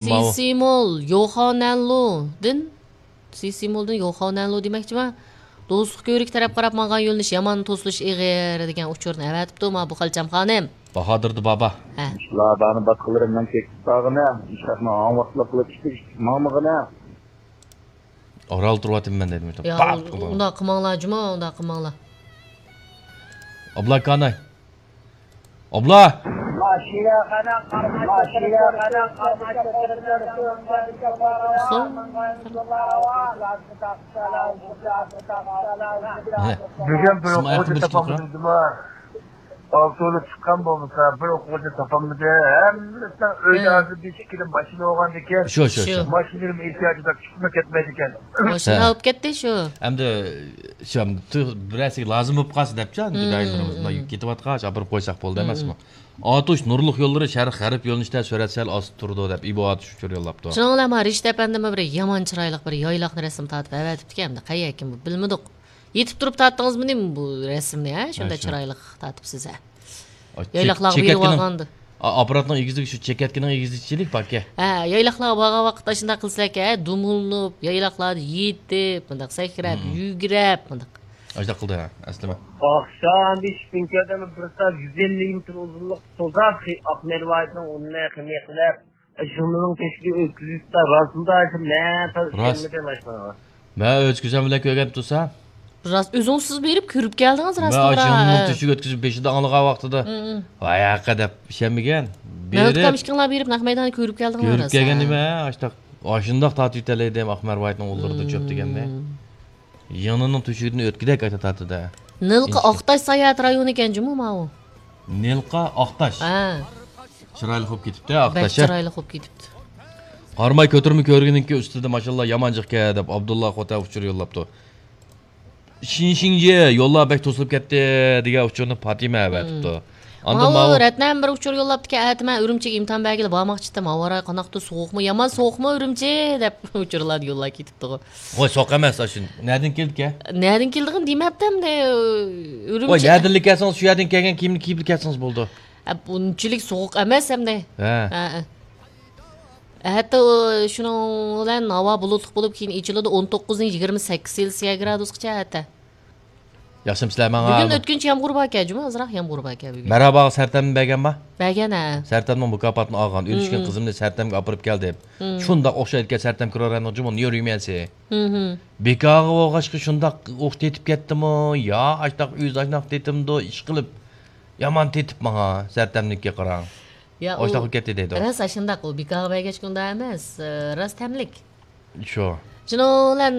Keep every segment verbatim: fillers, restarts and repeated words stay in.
ماۋۇ. سىسىمول يوخانەنلۇدىن، سىسىمولدىن يوخانەنلۇ دېمەكچىمەن. دوستلۇق كۆۋرۈكى تەرەپ قاراپ ماڭغان يۆنىلىش يامان توسۇلۇش ئېغىر دېگەن ئۇچۇرنى ئەۋەتىپتۇ مانا بۇ خالچام خانىم. باھادىردى بابا. ھە. شۇلار بارنى باتقىلىرىمنىڭ چېكىپ باغىنە، ئىشاقنىڭ ھاڭ ۋاقىتلىق قىلىپ ئىشتىك ماڭمىغىنە. ئارال تۇرۇۋاتىمەن دېدىم. يا، پات قىلدىم. ئۇنداق قىلماڭلار، جۇمۇ، ئۇنداق قىلماڭلار. ئابلا كاناي. ئابلا! بۈگۈن بىر ئوقۇغۇچى تاپالمىدىم جۇما. ئالتە ئۇلۇپ چىققان بولمىسا، بىر ئوقۇغۇچى تاپالمىدى. ھەممىسىنىڭ ئۆيدە ھازىر بېشى ئىككىدىن ماشىنا بولغاندىكىن، شۇ، شۇ، شۇ. ماشىنىلىرىمۇ ئېھتىياجىدا چىقىپمۇ كەتمەيدىكەن. ماشىنا ئاپكەتتى شۇ. ئەمدى شۇ، ئەمدى بىرەرسىگە لازىم بولۇپ قالسا دەپچۇ، ئەمدى دائىملىرىمىز مۇنداق يۈك كېتىۋاتقاچ، ئاپىرىپ قويساق بولدى ئەمەسمۇ؟ ئاتۇش نۇرلۇق يوللىرى شەرق غەرب يۆنىلىشتە سۈرئەت سەل ئاستا تۇرىدۇ دەپ، ئىبو ئاتۇش ئۇچۇر يوللاپتۇ. شۇنىڭ بىلەن مانا رىشىت ئەپەندىمۇ بىر يامان چىرايلىق بىر يايلاقنى رەسىم تارتىپ ئەۋەتىپتىكەن، ئەمدى قەيەركىن بۇ بىلمىدۇق. يېتىپ تۇرۇپ تارتتىڭىزمۇ نېمە بۇ رەسىمنى، ھە؟ شۇنداق چىرايلىق تارتىپسىز، ھە؟ يايلاقلارغا بېرىۋالغاندا. ئاپپاراتنىڭ ئېگىزلىكى شۇ چېكەتكىنىڭ ئېگىزلىكىچىلىك باركەن. ھە، يايلاقلارغا بارغان ۋاقىتتا شۇنداق قىلسىلەركەن، ھە، دۇمۇلىنىپ، يايلاقلاردا يېتىپ، مۇنداق سەكرەپ، يۈگرەپ، مۇنداق. ئاشۇنداق قىلدى، ھە، ئەسلىمە. ئاخشام بېشىپ كۈن كەلدىم، بىر سائەت يۈز ئەللىك مېتىر ئۇزۇنلۇقتا سوزاپ، ئاقمەرۋايىتنىڭ ئۇنى قېنى قىلىپ، شۇنىڭ تۆشۈكى ئۆتكۈزۈپ، راستىندا مەن تازا ئىشەنمىدىم ئاشۇنىڭغا. مەن ئۆز كۆزۈم بىلەن كۆرگەن تۇرسا. راست، ئۆزىڭىز سىز بېرىپ كۆرۈپ كەلدىڭىز، راست مەن ئاشۇنىڭ تۆشۈكى ئۆتكۈزۈپ بېشىدا ئاڭلىغان ۋاقتىدا، ۋاي ھەققە دەپ ئىشەنمىگەن. مەۋلۇت ئاكام ئىككىڭلار بېرىپ نەق مەيدانغا كۆرۈپ كەلدىڭلار، كۆرۈپ كەلگەن نېمە، ئاشۇنداق، ئاشۇنداق تارتىۋېتەلەيدىم، ئاقمەرۋايىتنىڭ ئۇلىرىدا چۆپ دېگەننى. يېڭىنىڭ تۆشۈكىدىن ئۆتكۈدەك ئايتا تارتىدۇ. نىلقا ئاقتاش ساياھەت رايونى ئىكەن جۇمۇ ماۋۇ. نىلقا ئاقتاش. ھە. چىرايلىق بولۇپ كېتىپتۇ، بەك ئاقتاش، ھە؟ چىرايلىق بولۇپ كېتىپتۇ. قاراماي كۆتۈرمە كۆرگىنىڭكى ئۈستىدە ماشاللا يامان جىقكەن دەپ ئابدۇللا خوتەن ئۇچۇر يوللاپتۇ. شىنشىڭجى يوللار بەك توسۇلۇپ كەتتى دېگەن ئۇچۇرنى پاتىمە ئەۋەتىپتۇ. ئاندىن ماۋۇ رەتنەم بىر ئۇچۇر يوللاپتىكەن، ئەتە مەن ئۈرۈمچىگە ئىمتىھان بەرگىلى بارماقچىدىم، ھاۋا رايى قانداقتۇ، سوغۇقمۇ، يامان سوغۇقمۇ ئۈرۈمچى دەپ ئۇچۇرلارنى يوللاپ كېتىپتىغۇ. خوي، سوغۇق ئەمەس، ئاشۇ نەدىن كېلىدىكەن؟ نەدىن كېلىدىغىنى دېمەپتىم دە، ئۈرۈمچى. ۋاي، نەدىنلا كەلسىڭىز، شۇ يەردىن كەلگەن كىيىمنى كىيىپلا كەلسىڭىز بولىدۇ. ئە، بۇنچىلىك سوغۇق ئەمەس ئەمدى. ھە. ھە، ھە. ھەتتا ئۇ، شۇنىڭ بىلەن ھاۋا بۇلۇتلۇق بولۇپ، كېيىن ئېچىلىدۇ. ئون توققۇزدىن يىگىرمە سەككىز سېلسىيە گرادۇسقىچە ھەتتا. ياخشىمۇ سىلەر ماڭا؟ بۈگۈن ئۆتكۈنچى يامغۇر باركەن، جۇمۇ ئازراق يامغۇر باركەن بۈگۈن. مەرھاباغا سەرتەمنى بەرگەنما؟ بەرگەن، ھە. سەرتەمنىڭ مۇكاپاتىنى ئالغان. ئۆلۈشكىن قىزىمنى سەرتەمگە ئاپىرىپ كەلدىم. شۇنداق ئوخشايدىكەن سەرتەم كرورەننىڭ جۇمۇ نيۇريۈميەنسى. بىكارغا بولغاچقا شۇنداق ئوخ تېتىپ كەتتىمۇ؟ يا ئاشتاق ئۆزى ئاشۇنداق تېتىمدۇ؟ ئىشقىلىپ يامان تېتىپ ماڭا سەرتەمنىڭكى قاراڭ. يا، ئاشۇنداق ئۇ بولۇپ كەتتى دەيدۇ. راست ئاشۇنداق، ئۇ بىكارغا بەرگەچكە ئۇنداق ئەمەس، ئى، راست تەملىك. شۇ. شۇنىڭ بىلەن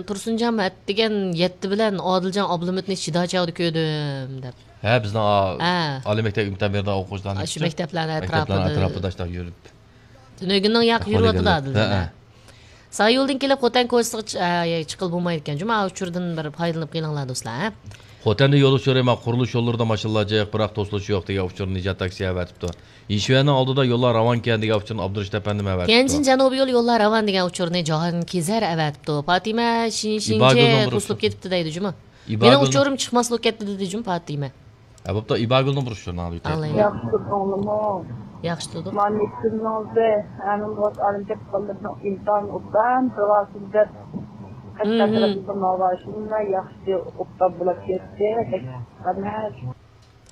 تۇرسۇنجان ئەتىگەن يەتتە بىلەن ئادىلجان ئابلىمىتنى شىدا چاغدا كۆردۈم دەپ. ھە، بىزنىڭ ئا-، ھە. ئالىي مەكتەپ ئىمتىھان بېرىدىغان ئوقۇغۇچىلارنى شۇ مەكتەپلەرنىڭ ئەتراپىدا. مەكتەپلەرنىڭ ئەتراپىدا ئاشۇنداق يۈرۈپ. تۈنۈگۈننىڭ ياقى يۈرۈۋاتىدۇ ئادىلجان. ھە، ھە. سايولدىن كېلىپ خوتەن كوچىسىغا چ-، ئە، چىققىلى بولمايدىكەن. جۇمۇ ئۇچۇردىن بىر پايدىلىنىپ قېلىڭلار دوستلار، ھە. خوتەندە يول ئۇچۇرى، مانا قۇرۇلۇش يوللىرىدا ماشىنىلار جىق، بىراق توسۇلۇش يوق دېگەن ئۇچۇرنى نىجات تاكسى ئەۋەتىپتۇ. يىشۈەننىڭ ئالدىدا يوللار راۋانكەن دېگەن ئۇچۇرنى ئابدۇرېشىت ئەپەندىم ئەۋەتىپتۇ. تيەنجىن جەنۇبىي يول يوللار راۋان دېگەن ئۇچۇرنى جاھانگىر ئەۋەتىپتۇ. پاتىمە شىنشىنجې توسۇلۇپ كېتىپتۇ دەيدۇ جۇمۇ. مېنىڭ ئۇچۇرۇم چىقماسلىق كەتتى دېدى جۇمۇ پاتىمە. ھە، بوپتۇ، ئىباگۈلنىڭ بۇرۇش ژۇرنالى ئۆتەي. ئالايلى. ياخشى تۇردۇڭلىمۇ؟ ياخشى تۇردۇق. مانا يېتىكىمنىڭ ئۆزى، ھەممە بولۇپ ئالىم كەتكەنلىرىنىڭ ئىمتىھانى ئوبدان بىر ۋاسىتە دەپ، قەشقەر تەرەپتىن بىر ناۋا شۇنداق ياخشى ئوبدان بولۇپ كەتتى. بەك قەنەت.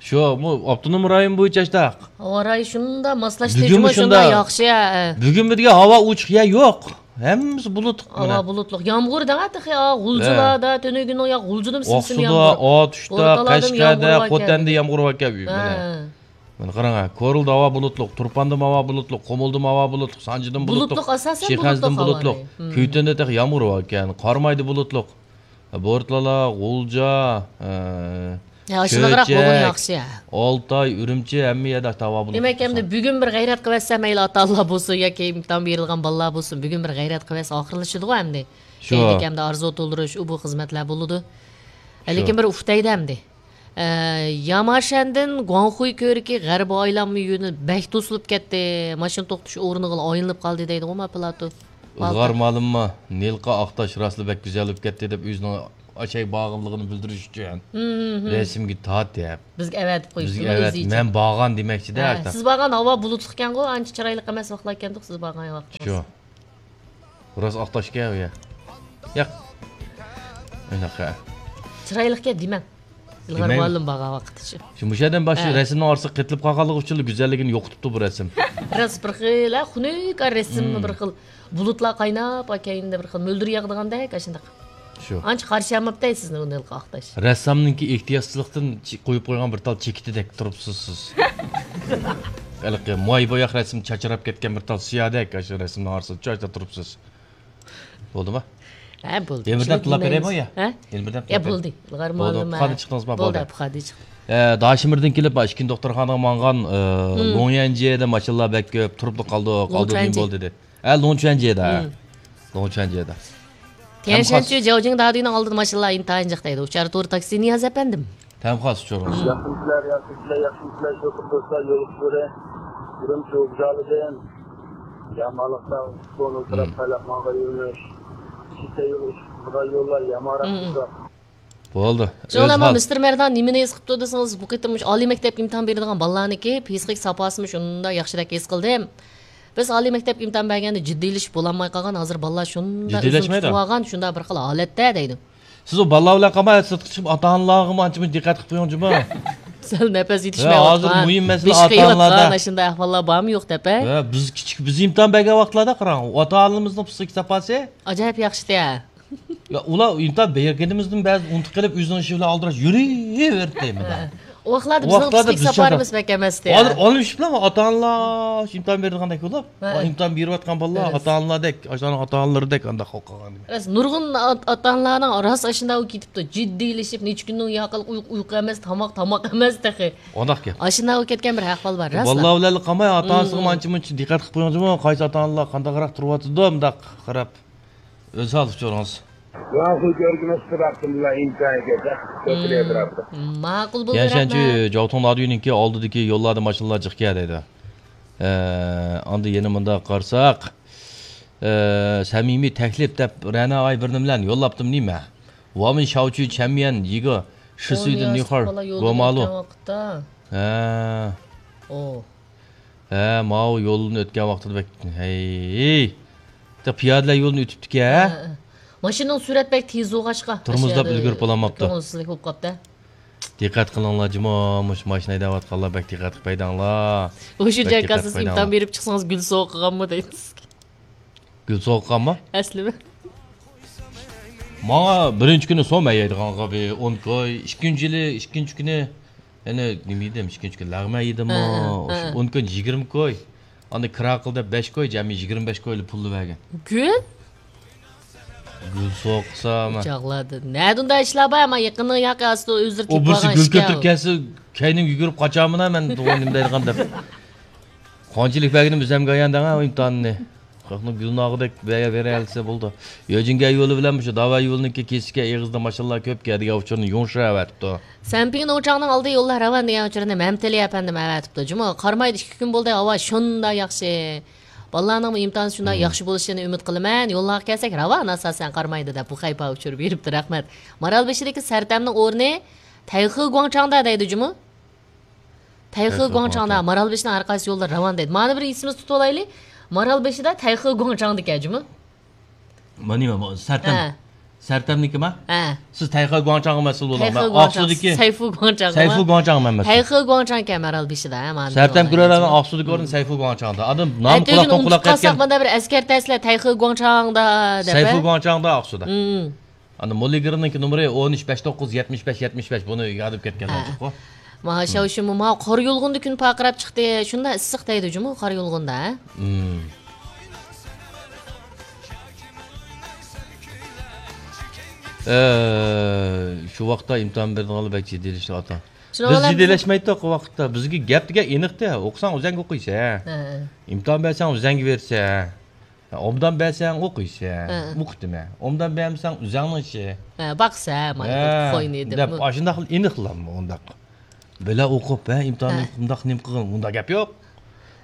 شۇ، بۇ ئاپتونوم رايون بويىچە ئاشتاق. ھاۋا رايى شۇنداق ماسلاشتى، بۈگۈنمۇ جۇمۇ شۇنداق شۇنداق. ياخشى، ھە. بۈگۈنمۇ دېگەن ھاۋا ئوچۇق يەر يوق. ھەممىسى بۇلۇتلۇق مانا. ھاۋا بۇلۇتلۇق. يامغۇر دەڭە تېخى، ھە. غۇلجىلاردا، تۈنۈگۈننىڭ يا غۇلجىدىمۇ سىم-سىم ئاقسۇدا، يامغۇر. ئاتۇشتا، قەشقەردە، خوتەندە يامغۇر باركەن. ھە. مانا. مانا قاراڭ، ھە. كورلىدا ھاۋا بۇلۇتلۇق، تۇرپاندىمۇ ھاۋا بۇلۇتلۇق، قۇمۇلدىمۇ ھاۋا بۇلۇتلۇق، سانجىدىمۇ بۇلۇتلۇق، بۇلۇتلۇق، ئاساسەن شىخەنزىدىمۇ بۇلۇتلۇق، بۇلۇتلۇق. ھاۋا رايى. كۈيتۈندە تېخى يامغۇر باركەن، قارامايدا بۇلۇتلۇق. بورتالا، غۇلجا، ئە، يا، ئاشۇنداقراق بولغىنى ياخشى. ئالتاي، ئۈرۈمچى، ھەممە يەردە ھاۋا بۇلۇتلۇق. دېمەك، ئەمدى بۈگۈن بىر غەيرەت قىلىۋەتسە، مەيلى ئاتا-ئانىلار بولسۇن ياكى ئىمتىھان بېرىدىغان بالىلار بولسۇن، بۈگۈن بىر غەيرەت قىلىۋەتسە ئاخىرلىشىدىغۇ ئەمدى. شۇ. كەينىدىكى ئەمدى ئارزۇ تولدۇرۇش، ئۇ بۇ خىزمەتلەر بولىدۇ. شۇ. لېكىن بىر ئۇھ دەيدۇ ئەمدى. ئە، ياماشەندىن گۇاڭخۇي كۆۋرۈكى غەربىي ئايلانما يۆنىلىپ بەك توسۇلۇپ كەتتى. ماشىنا توختىتىش ئورنىغىلا ئايلىنىپ قالدى دەيدىغۇ ما پىلاتو. ئىلغار مالىمما، نىلقا ئاقتاش راسلا بەك گۈزەل بولۇپ كەتتى دەپ ئۆزىنىڭ ئاشاي بارغانلىقىنى بىلدۈرۈش ئۈچۈن رەسىمگە تارتىپ، بىزگە ئەۋەتىپ قويۇپتۇ، بىزگە ئۆزى ئەۋەت، ئىچىپ. مەن بارغان دېمەكچىدە، ھە، سىز بارغان ھاۋا بۇلۇتلۇق ئىكەنغۇ، ئانچە چىرايلىق ئەمەس ۋاقىتلار ئىكەندۇق سىز بارغان ۋاقتىڭىز. شۇ. راست ئاق تاش ئىكەن ئۇ يەر. ياق. ئۇنداق ھە. چىرايلىق ئىكەن دېمەڭ. ئىلغار دېمەيمەن. مۇئەللىم بارغان ۋاقىت شۇ. شۇ مۇشۇ يەردىن باش ھە. رەسىمنىڭ ئارىسىغا قېتىلىپ قالغانلىقى ئۈچۈنلا گۈزەللىكىنى يوقىتىپتۇ بۇ رەسىم. راست بىر خىل، ھە، خۇنۈك رەسىممۇ بىر خىل. بۇلۇتلار قايناپ، كەينىدە بىر خىل مۆلدۈر ياغىدىغاندەك، ئاشۇنداق. شۇ. ئانچە قارشى ئالماپتۇ سىزنى ئۇنى ھېلىقى ئاق تاش. رەسسامنىڭكى ئېھتىياتسىزلىقتىن چى-، قويۇپ قويغان بىر تال چېكىتىدەك تۇرۇپسىز سىز. ھېلىقى ماي بوياق رەسىم چاچراپ كەتكەن بىر تال سىيادەك، ئاشۇ رەسىمنىڭ ئارىسىدا چاچراپ تۇرۇپسىز. بولدىما؟ ھە، بولدى. يەنە بىردەم تىللاپ بېرەيمۇ يا؟ ھە؟ يەنە بىردەم يا، تىللاپ بولدى. بېرەي. بولدى، پۇخادىن چىقتىڭىزما؟ بولدى، بولدى. پۇخادىن چىقتىم. ئە، داشىمىردىن كېلىپ، ئىككىنچى دوختۇرخانىغا ماڭغان، ئە، لوڭيەنجيېدە ماشىنىلار بەك كۆپ، تۇرۇپلا قالدۇق، ئالدىدا نېمە بولدى دېدى. ھە، لوڭچۈەنجيې. ھە، لوڭچۈەنجيېدا. لوڭچۈەنجيېدا. تيەنشەنچۈ جاۋجىڭ دادۈينىڭ ئالدىدا ماشىنىلار ئىنتايىن جىق دەيدۇ. ئۇچار تورى تاكسى نىياز ئەپەندىم. تەمخاس ئۇچۇرىڭىز. ياخشىمسىلەر، ياخشىمسىلەر، ياخشىمسىلەر، شوپۇر دوستلار، يول ئۇچۇرى. ئۈرۈمچى ۋوگزالىدىن. يا مالىقتا، كونۇل تەرەپ سايلاپ ماڭغان يۆنىلىش. كېچە يول ئۇچۇپ قىزغان يوللار، يا ماراپ بولدى. شۇڭا مەن مىستېر مەردان نېمىنى ھېس قىپتۇ دېسىڭىز، بۇ قېتىم مۇشۇ ئالىي مەكتەپكە ئىمتىھان بېرىدىغان بالىلارنىڭكى پسىخىك ساپاسىمۇ شۇنداق ياخشىدەك ھېس قىلدىم. بىز ئالىي مەكتەپ ئىمتىھان بەرگەندە جىددىيلىشىپ بولالماي قالغان، ھازىر بالىلار شۇنداق ئۆزىنى جىددىيلەشمەيدۇ. تۇتۇۋالغان، شۇنداق بىر خىل ھالەتتە دەيدۇ. سىز ئۇ بالىلار بىلەن قالماي، سىرتقا چىقىپ، ئاتا-ئانىلارغىمۇ ئانچە-مۇنچە دىققەت قىلىپ قويۇڭ جۇمۇ. سەل نەپەس ھە، ھازىر يېتىشمەيۋاتقان، مۇھىم مەسىلە بېشى ئاتا-ئانىلاردا. قېيىۋاتقان، ئاشۇنداق ئەھۋاللار بارمۇ يوق دەپ، ھە؟ ھە، بىز كىچىك، بىز ئىمتىھان بەرگەن ۋاقىتلاردا قاراڭ، ئاتا-ئانىمىزنىڭ پسىخىك ساپاسى ئاجايىپ ياخشىتى، ھە. يا، ئۇلار ئىمتىھان بەرگىنىمىزدىن بەزى ئۇنتۇپ قېلىپ، ئۆزىنىڭ ئىشى بىلەن ئالدىراش يۈرۈۋېرىدۇ دەيمەن. ھە. ئۇ ۋاقىتلاردا بىزنىڭ پسىخىك ساپاسىمىز بەك ئەمەستى. ھازىر ئالمىشىپلا ئاتا-ئانىلار شۇ ئىمتىھان بېرىدىغاندەك بولۇپ، ھە. ئىمتىھان بېرىۋاتقان بالىلار ئاتا-ئانىلاردەك، ئاشۇلارنىڭ ئاتا-ئانىلىرىدەك ئانداق قىلىپ قالغان. راست، نۇرغۇن ئات-، ئاتا-ئانىلارنىڭ راست ئاشۇنداق بولۇپ كېتىپتۇ. جىددىيلىشىپ، نەچچە كۈندىن ياقىلىق ئۇيقۇ، ئۇيقۇ ئەمەس، تاماق، تاماق ئەمەس تېخى. ئۇنداق گەپ. ئاشۇنداق بولۇپ كەتكەن بىر ئەھۋال بار، راستلا. بالىلار بىلەنلا قالماي، ئاتا-ئانىسىغىمۇ ئانچە-مۇنچە دىققەت قىلىپ قويۇڭ جۇمۇ، قايسى ئاتا-ئانىلار قانداقراق تۇرۇۋاتىدۇ، مۇنداق قاراپ. ئۆز ھال ئۇچۇرىڭىز. ماقۇل كۆرگىنىڭىزچە بىراقتىن بىلەن ئىمكانىيەتكە ماقۇل بولدى، يەنى شەنچى رەھمەت. جاۋتۇڭ دادۈينىڭكى ئالدىدىكى يوللاردا ماشىنىلار جىق كەل دەيدۇ. ئە، ئاندىن يەنە مۇنداق قارىساق، ئە، سەمىمىي تەكلىپ دەپ رەنا ئاي بىرنى بىلەن يوللاپتىم نېمە؟ ۋامىن شاۋچۈ چەنميەن يىگې شىسۈيدىن نىخار گومالۇ. ھە. ئو. ھە، ماۋۇ يولدىن ئۆتكەن ۋاقتىدا بەك، ھەي. پىيادىلەر يولىدىن ئۆتۈپتىكەن. ھە، ھە. ماشىنىنىڭ سۈرئەت بەك تېز بولغاچقا، تورمۇزلاپ ئاشۇ يەردە ئۈلگۈرۈپ بولالماپتۇ. كۆڭۈلسىزلىك بولۇپ قاپتۇ. دىققەت قىلىڭلار جۇمۇ، مۇشۇ ماشىنا ھەيدەۋاتقانلار بەك دىققەت قىلىپ ھەيدەڭلار. ئوشۇ جايغا سىز ئىمتىھان بېرىپ چىقسىڭىز گۈل سوۋغا قىلغانمۇ دەيمىز. گۈل سوۋغا قىلغانمۇ؟ ئەسلىمۇ. ماڭا بىرىنچى كۈنى سوم ھەيدىغانغا بىر ئون كوي، ئىككىنچى يىلى، ئىككىنچى كۈنى يەنە نېمە يېدىم؟ ئىككىنچى كۈنى لەغمەن يېدىممۇ؟ ھە، ھە. ئون كۈن يىگىرمە كوي. ئاندىن كىرا قىل دەپ بەش كوي، جەمئىي يىگىرمە بەش كويلا پۇللا بەرگەن. گۈل؟ گۈل سوقسا مەن. چاغلاردا. نەدە ئۇنداق ئىشلار بار؟ ئەمما يېقىننىڭ ياقى ئاستى ئۆزلىرى ئۇ تېپىپ بىرسى ئالغان گۈل ئىشكەن كۆتۈرۈپ ئۇ. كەلسە، كەينىمگە يۈگۈرۈپ قاچامىنا مەن، نېمە دەيدىغان دەپ. قانچىلىك بەرگىنىم ئۆزەمگە ئايان دەڭە ئىمتىھاننى. خەقنىڭ گۈلناغىدەك بەرە-، بېرەلىسە بولدى. يۆجىنگەن يولى بىلەن مۇشۇ داۋا يولىنىڭكى كېسىكى ئېغىزىدا ماشىنىلار كۆپ كەلدىگەن ئۇچۇرنى يۇڭشۇ ئەۋەتىپتۇ. سەنپىڭ نوچاڭنىڭ ئالدى يوللار راۋان دېگەن ئۇچۇرنى مەمتىلى ئەپەندىم ئەۋەتىپتۇ. جۇمۇ، قارامايدا ئىككى كۈن بولدى، ھاۋا شۇنداق ياخشى. بالىلارنىڭمۇ ئىمتىھانى شۇنداق ياخشى بولۇشىنى ئۈمىد قىلىمەن. يوللارغا كەلسەك، راۋان ئاساسەن قارامايدا دەپ بۇ خەيپا ئۇچۇر بېرىپتۇ. رەھمەت. مارالبېشىدىكى سەرتەمنىڭ ئورنى تەيخې گۇاڭچاڭدا دەيدۇ جۇمۇ. تەيخې گۇاڭچاڭدا، مارالبېشىنىڭ ھەر قايسى يوللىرى راۋان دەيدۇ. مانا بىر ئېسىمىزدە تۇتۇۋالايلى. مارالبېشىدا تەيخې گۇاڭچاڭدىكەن جۇمۇ. ما نېمە، ما سەرتەم. ھە. سەرتەمنىكىما؟ ھە. سىز تەيخې گۇاڭچاڭغا مەسئۇل بولۇڭ. تەيخې مەن گۇاڭچاڭ. ئاقسۇدىكى سەيفۇ گۇاڭچاڭ. سەيفۇ گۇاڭچاڭ مەن مەسئۇل. تەيخې گۇاڭچاڭكەن مارالبېشىدا، ھە، مانا. سەرتەم كۆرەرلەرنىڭ ئاقسۇدىكى ئورنى سەيفۇ گۇاڭچاڭدا. ئادەم نام قۇلاقتىن قۇلاققا يەتكەن. مۇنداق بىر ئەسكەرتەسىلەر تەيخې گۇاڭچاڭدا دەپ. سەيفۇ گۇاڭچاڭدا ئاقسۇدا. ئاندىن موللىگىرنىڭكى نومۇرى ئون ئۈچ، بەش توققۇز، يەتمىش بەش، يەتمىش بەش. بۇنى ياد ئېلىپ كەتكەن. ھە. ما شاۋشىمۇ ما قارا يۇلغۇندا كۈن پارقىراپ چىقتى. شۇنداق ئىسسىق دەيدۇ جۇمۇ قارا يۇلغۇندا، ھە؟ مم. ئە، شۇ ۋاقىتتا ئىمتىھان بېرىدىغانلار بەك جىددىيلىشىۋاتىدۇ. بىز جىددىيلەشمەيتتۇق ئۇ ۋاقىتتا. بىزگە گەپ دېگەن ئېنىقتى. ئوقۇساڭ ئۆزەڭگە ئوقۇيسەن. ھە. ئىمتىھان بەرسەڭ ئۆزەڭگە بېرىسەن. ئوبدان بەرسەڭ ئوقۇيسەن، ھە. ئوقۇتىمەن. ئوبدان بەرمىسەڭ ئۆزۈڭنىڭ ئىشى. ھە، باقسا، مانا ھە، قوينى دەپ دەپ. ئاشۇنداق ئېنىقلام ئۇنداق. بىلە ئوقۇپ، ھە، ئىمتىھاننى ھە. ئۇنداق نېمە قىلغىن، ئۇنداق گەپ يوق.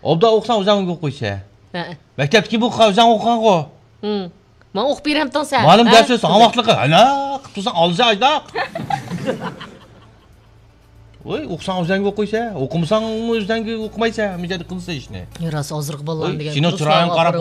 ئوبدان ئوقۇساڭ ئۆزۈڭ ئوقۇيسەن. ھە. مەكتەپتىكى بۇ ئۆزۈڭ ئوقۇغانغۇ. ھىم. ماڭا ئوقۇپ بېرەمتىڭ سەن؟ مۇئەللىم ھە؟ دەرس بېرىسەن، ھاۋاقلىقى. ھالا قىپتۇرساڭ ئالجا ئاجداق. ۋوي، ئوقۇساڭ ئۆزەڭگە ئوقۇيسەن، ئوقۇمىساڭ ئۆزەڭگە ئوقۇمايسەن، مىجەدە قىلسا ئىشنى. يا، راست، ھازىرقى بالىلار ۋوي، دېگەن سېنىڭ چىرايىڭ قاراپ